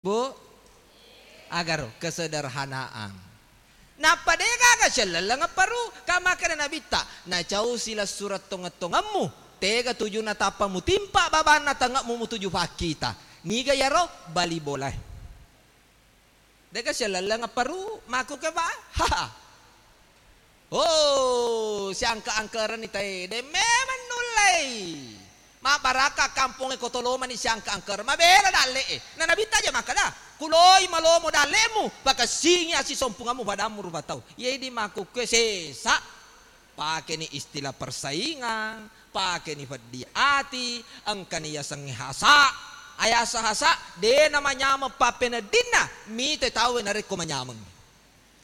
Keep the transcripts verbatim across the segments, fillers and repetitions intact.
Bu, agaro kesederhanaan. Nappa degaga sellelleng apparu, kamakkeda Nabitta, nacau silessureng tongeng-tongemmu, tega tujunna tappa mutimpa babanna tange'mu mutuju fakkita. Niga iyaro? Bali bolae. Dega sellelleng apparu, makkuke ba? Haha. Oh, siangka-angkerenni tae, de memang nullei. Mabbarakka kampongnge ko tolomani siangka-angkereng. Mabela dalle'e. Na Nabitta aja makkeda, kuloi malomo dalle'mu, pakessingi assisompungemmu padammu rupa tau. Iye idi makkukkue sesa. Pakeni istilah persaingan, pakeni feddi ati, engkani yasengnge hasa. Ayasa hasa, de namanyameng pappeneddinna, mite tauwe narekko manyameng.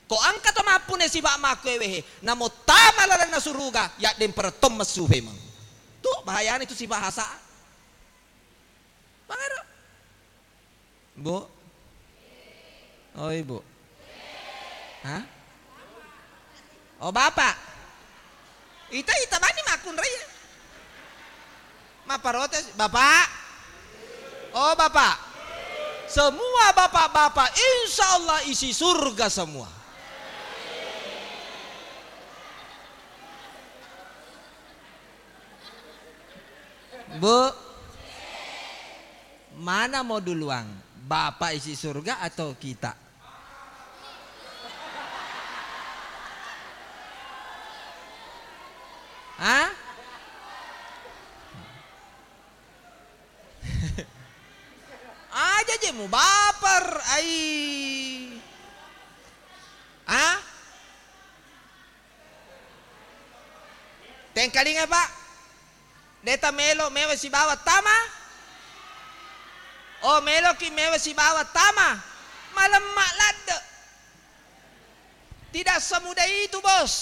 Ko engka to mappune sifa makkuewehe, namo tama lalenna suruga, yaddempereng to messu femeng. Tu bahayana itu sifa hasa. Mangaro. Bu? Oh, Ibu. Hah? Oh, Bapak. Ita, ita bani makkunrai. Mapparotes, Bapak. Oh, Bapak. Semua bapak-bapak, insya Allah isi surga semua. Bu, mana mau duluan? Bapak isi surga atau kita? Hah? Aja je mubaper, ai. Hah? Tengkalinga, Pak. Deta melo mewa sibawa tama. Oh, meloki mewa sibawa tama. Malemma ladde. Tidak semudah itu, Bos.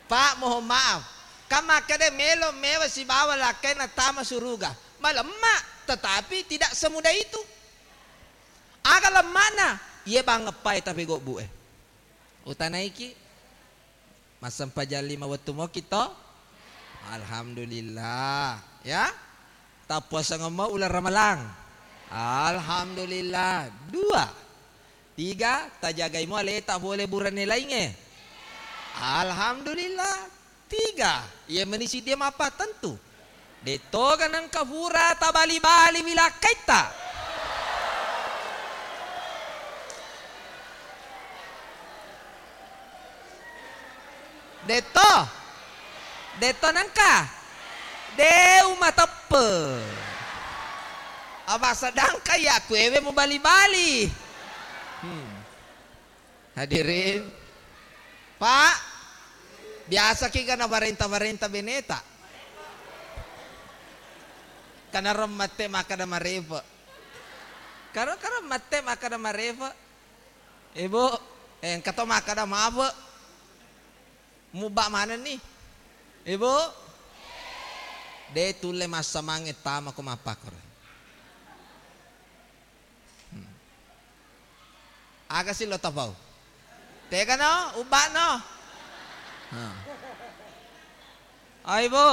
Pak, mohon maaf. Kan makkeda melo mewa sibawa lakkainna tama suruga. Malemma, tetapi tidak semudah itu. Aga lemmana? Iye bangeppae tapegobbu e. Utanaiki. Massempajang lima wettu moki to? Alhamdulillah. Ya. Tappuasangeng mo uleng Ramalang. Alhamdulillah. Dua. Tiga, tajagai mo aleta pole burane lainge. Alhamdulillah. Tiga, iya meni siddi mappa tentu. Dettoga nengka fura tabali-bali wilakkaitta. Detto. Detto nengka. Deu mateppe. Apa sedangkan ya kuewe mubali-bali. Hmm. Hadirin. Pak, biasa ki ga naparenta-parenta beneta. Kana remmette makkada marefe. Karo, karo mette makkada marefe. Ibu, eh, engka to makkada mafe. Mubba manenni. Ibu, de tulle massamange tama ko mappakoro. Hmm. Aga si lo tapau? Tegano, ubba'no. Ha. Ai, Bu.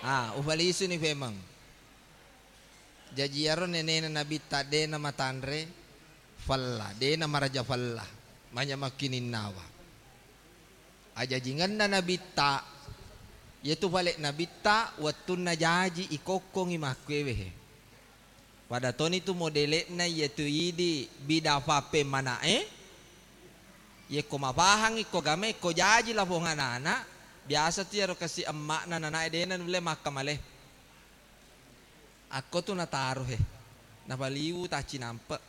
Ha, ufalisuni femeng. Jaji iyaro nenena Nabitta de namatanre fella, de namaraja fella, manyameng kininnawa. Ajajingenna Nabitta, iyatu fale Nabitta wettunna jaji ikokkongi makkuewe he. Pada toni tu modele'na iyatu idi bida fappemmana'e, yekko mafahangngi ko game ko jaji lafong ana'-ana', biasa tu iyaro kasi emma'na nana'e dena nulle makkamale. Akko tu nataro he, napaliwu taccinampe',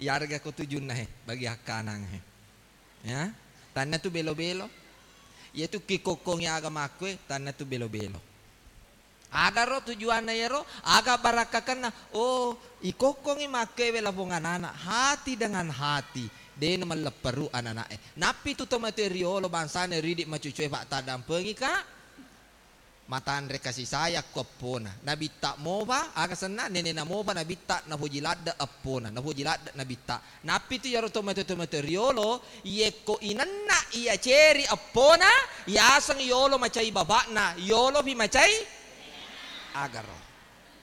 iyarega ko tujunna he, bagi akkanang he. Ya, tanna tu belo-belo. Iyatu kikokkongi aga makkue, tanna tu belo-belo. Agaro tujuanna iyaro, aga barakkakenna? Oh, ikokkongi makkewe lafong anana, hati dengan hati, de namallepperu anana'e. Nappi tu tomatoe riolo bangsana ridi macucue fattaddampengika. Matanre kasi sayang ko eppona. Nabitta mopa, aga senna, nenena mopa Nabitta, nafoji ladde eppona, nafoji ladde Nabitta. Nappi tu iyaro tomatoe-tomatoe riolo, yekko inenna iya ceri eppona, yaseng yolo macai bapakna, yolopi macai agaro.